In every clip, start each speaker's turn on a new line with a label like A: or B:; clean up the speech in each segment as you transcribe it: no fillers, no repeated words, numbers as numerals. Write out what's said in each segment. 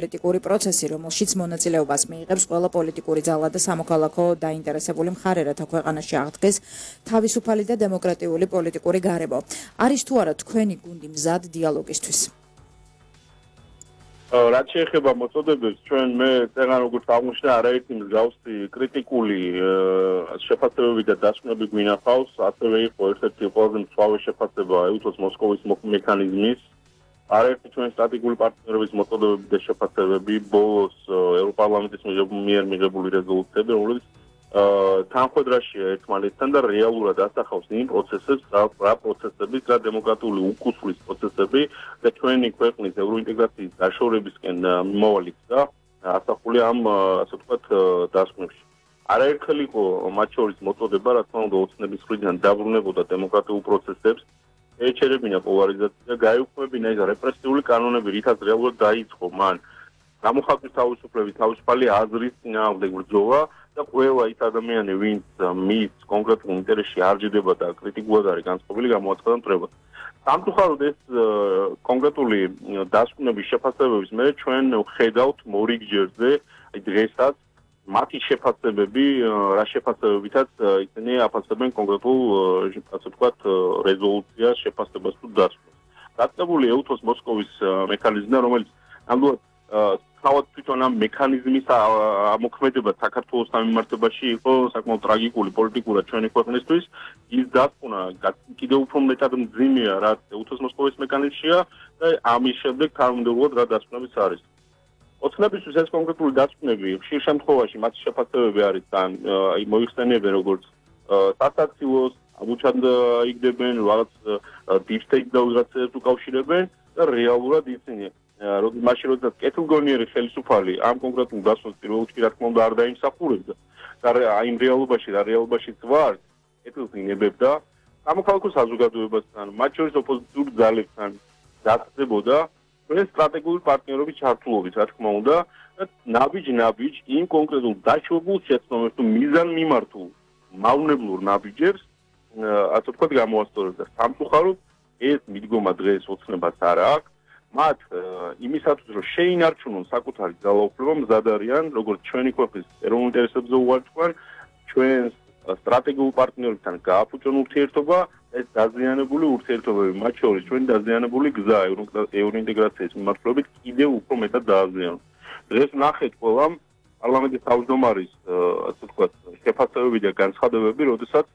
A: პოლიტიკური პროცესი, რომელშიც მონაწილეობას მიიღებს ყველა პოლიტიკური ძალა და სამოქალაქო დაინტერესებული მხარე, რათა ქვეყანაში აღდგეს თავისუფალი და დემოკრატიული პოლიტიკური გარემო. არის თუ არა თქვენი გუნდი მზად დიალოგისთვის?
B: რაც შეეხება მოწოდებებს, ჩვენ მე წერან როგორც აღმოჩნდა არაერთი მსგავსი კრიტიკული შეფასებები და დასკვნები გვინახავს, ასევე იყო ერთ-ერთი ყველაზე მწვავე შეფასება ეუთოს მოსკოვის მექანიზმის, არაერთი ჩვენ სტრატეგიული პარტნიორების მოწოდებები და შეფასებები, ბოლოს ევროპარლამენტის მიერ მიღებული რეზოლუციები, რომელიც თანხმედრაშია ერთმანეთთან და რეალურად ასახავს იმ პროცესებს, რა პროცესების და დემოკრატიული უკუსვლის პროცესები და ჩვენი ქვეყნის ევროინტეგრაციის დაშორებისკენ მიმავალი გზა ასახულია ამ ასე ვთქვათ დასკვნებში. არაერთხელ იყო მათ შორის მოწოდება, რა თქმა უნდა, ოცნების მხრიდან დაბრუნებოდა დემოკრატიულ პროცესებს, ეჩერებინა პოლარიზაცია და გაეუქმებინა ეს რეპრესიული კანონები, რითაც რეალურად დაიწყო მან გამოხატვის თავისუფლების, თავისუფალი აზრის წინააღმდეგ ბრძოლა და ყველა ის ადამიანი, ვინც მის კონკრეტულ ინტერესში არ ჯდება და კრიტიკულად არის განწყობილი, გამოაცხადა მტრებას. სამწუხაროდ ეს კონკრეტული დასკვნების შეფასებების მე ჩვენ ვხედავთ მორიგჯერზე, აი დღესაც მათი შეფასებები, რა შეფასებებითაც ისინი აფასებენ კონკრეტულ ასე ვთქვათ რეზოლუციას შეფასებას თუ დასკვნას. დაწყებული ეუთოს მოსკოვის მექანიზმიდან, რომელიც ნამდვილად თავად თვითონ ამ მექანიზმის ამოქმედება საქართველოს სამმართველოში იყო საკმაოდ ტრაგიკული პოლიტიკურად ჩვენი ქვეყნისთვის. ის დასკვნა კიდევ უფრო მეტად მძიმეა, რაც ეუთოს მოსკოვის მექანიზმშია და ამის შემდეგ თანამდებობად რა დასკვნებიც არის. ოცნებისთვის ეს კონკრეტული დასკვნები ხშირ შემთხვევაში მათი შეფასებები არის თან მოიხსენიებენ როგორც სასაცილოს, ამუჩად იგდებენ რაღაც deep state დაუზრაცებს უკავშირებენ და რეალურად ისინი მაშინ როდესაც კეთილგონიერი ხელისუფალი ამ კონკრეტულ დასკვნას პირველ რიგში რა თქმა უნდა არ დაიმსახურებდა და იმ რეალობაშიც ვარ კეთილს ინებებდა სამოქალაქო საზოგადოებასთან, მათ შორის ოპოზიციურ ძალებთან დასწრებოდა ჩვენ სტრატეგიული პარტნიორობის ჩართულობით, რა თქმა უნდა, და ნაბიჯ იმ კონკრეტულ დაშვებულ შეცდომებს თუ მიზანმიმართულ მავნებლურ ნაბიჯებს ასე ვთქვათ გამოასწორებდა. სამწუხაროდ ეს მიდგომა დღეს ოცნებას არ აქვს. მათ იმისათვის რომ შეინარჩუნონ საკუთარი ძალაუფლება მზად არიან, როგორც ჩვენი ქვეყნის ეროვნულ ინტერესებზე უარყვან, ჩვენს სტრატეგიულ პარტნიორებთან გააფუჭონ ურთიერთობა, ეს დაზიანებული ურთიერთობები, მათ შორის ჩვენი დაზიანებული გზა ევროინტეგრაციის მიმართულებით კიდევ უფრო მეტად დააზიანონ. დღეს ნახეთ ყველამ პარლამენტის თავმჯდომარის ასე ვთქვათ შეფასებები და განცხადებები, როდესაც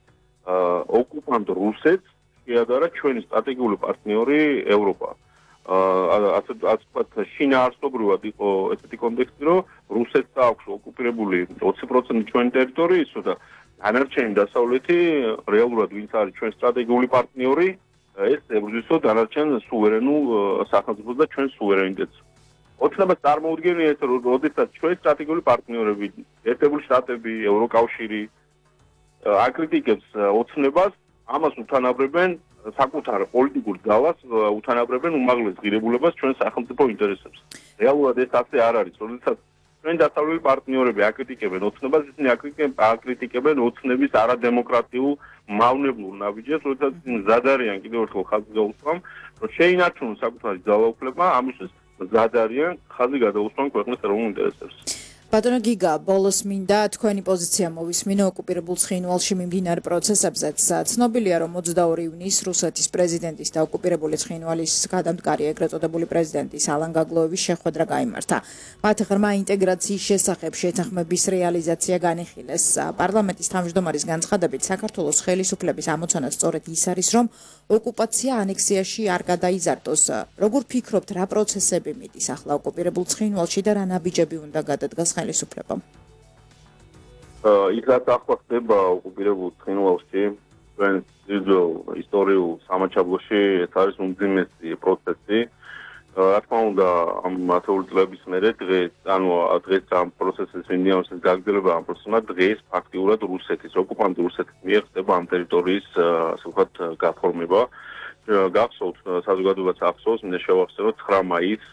B: ოკუპანტ რუსეთს შეადარა ჩვენი სტრატეგიული პარტნიორი ევროპა. ასე ვთქვათ შინაარსობრივად იყო ესეთი კონტექსტი, რომ რუსეთს აქვს ოკუპირებული 20% ჩვენი ტერიტორიის და დანარჩენი დასავლეთი რეალურად ვინც არის ჩვენ სტრატეგიული პარტნიორი, ეს ებრძვისო დანარჩენ სუვერენულ სახელმწიფოს და ჩვენ სუვერენიტეტს. ოცნებას წარმოუდგენია ეს, როდესაც ჩვენ სტრატეგიული პარტნიორები, ერთებული შტატები, ევროკავშირი აკრიტიკებს ოცნებას, ამას უთანაბრებენ საკუთარ პოლიტიკურ ძალას, უთანაბრებენ უმაღლეს ღირებულებას ჩვენ სახელმწიფო ინტერესებს. რეალურად ეს ასე არ არის, როდესაც ჩვენ დასავლელი პარტნიორები აკრიტიკებენ ოცნებას, ისინი აკრიტიკებენ ოცნების არადემოკრატიულ მავნებლურ ნაბიჯებს, როდესაც ისინი მზად არიან კიდევ ერთხელ ხაზი გაუსვამ, რომ შეინარჩუნონ საკუთარი ძალაუფლება, ამისთვის მზად არიან ხაზი გადაუსვან ქვეყნის ეროვნულ ინტერესებს.
A: ბატონო გიგა, ბოლოს მინდა თქვენი პოზიცია მოვისმინო ოკუპირებულ ცხინვალში მიმდინარე პროცესებზეც. ცნობილია, რომ 22 ივნისს რუსეთის პრეზიდენტის და ოკუპირებული ცხინვალის გადამდგარი ეგრეთ წოდებული პრეზიდენტის ალან გაგლოევის შეხვედრა გაიმართა. მათ ღრმა ინტეგრაციის შესახებ შეთანხმების რეალიზაცია განიხილეს. პარლამენტის თავმჯდომარის განცხადებით, საქართველოს ხელისუფლების ამოცანა სწორედ ის არის, რომ ოკუპაცია ანექსიაში არ გადაიზარდოს. როგორ ფიქრობთ, რა პროცესები მიდის ახლა ოკუპირებულ ცხინვალში და რა ნაბიჯები უნდა გადადგას ხელისუფლებამ?
B: ის რაც ახლა ხდება ოკუპირებულ ცხინვალში, ჩვენ ძირითადად ისტორიულ სამაჩაბლოში ეს არის უმძიმესი პროცესი. რა თქმა უნდა, ამ ათეული წლების მერე დღეს ამ პროცესის მიმდინარეობის გაგრძელება ამ პროცესმა დღეს ფაქტიურად რუსეთის ოკუპანტ რუსეთის მიერ ხდება ამ ტერიტორიის ასე ვთქვათ გაფორმება. გახსოვთ საზოგადოებას ახსოვს, მინდა შევახსენოთ 9 მაისს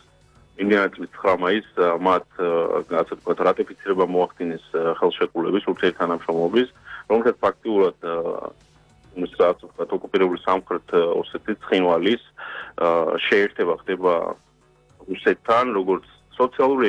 B: იმდენად წლის 9 მაისს მათ ასე ვთქვათ რატიფიცირება მოახდინეს ხელშეკრულების ურთიერთთანამშრომლობის, რომელსაც ფაქტიურად ასე ვთქვათ ოკუპირებული სამხრეთ ოსეთის ცხინვალის შეერთება ხდება რუსეთთან, როგორც სოციალური